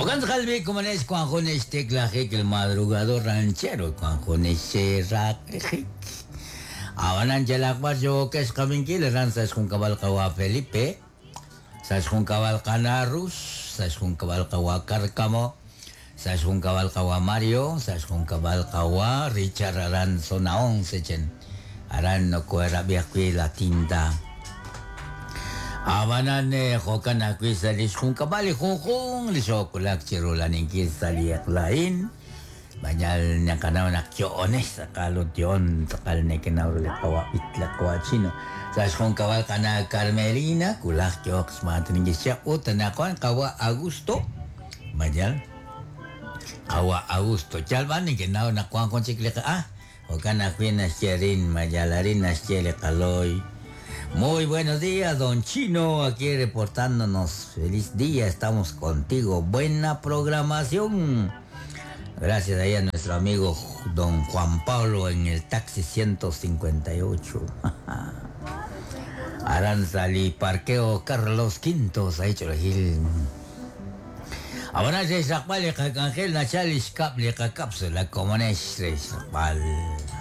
Okan tz'aqal komonex wan jun xtiklajik el madrugador ranchero wan jun xraqlijik. Abanan yalaq b'ar yookex qabinkil aran sa' xjunkab'al qawa Felipe, sa' xjunkab'al qana Rux, sa' xjunkab'al qawa Cárcamo, sa' xjunkab'al qawa Mario, sa' xjunkab'al qawa Richard aran zona 11 chen. Aran nokoherab'i ajwi' la tinta. Abanan jo'kan ajwi' sa' li xjunkab'al li junjunq li xoowulak chiru laninkil sa' li eq'la a'in. Bañal naqanaw naq yo'onex tz'aqal ut yo'on tz'aqal nekenaw ru li qawa b'it li qawa chino. Sa' xjunkab'al qana Carmelina, wulaj yooq xmaatuninkil xchaq ut anaqwan qawa Augusto. Bañal qawa Augusto. Yal b'an nekenaw naq wan jun chik li jo'kan ajwi' naxye arin, mayal arin naxye li qaloy. Muy buenos días, don Chino, aquí reportándonos. Feliz día, estamos contigo. Buena programación. Gracias ahí a nuestro amigo don Juan Pablo en el taxi 158. Aranzali, Parqueo Carlos V, ahí Cholajil. Ahora se li qak'anjel nachal li xkab' li qakapsula komonex re xraqb'al.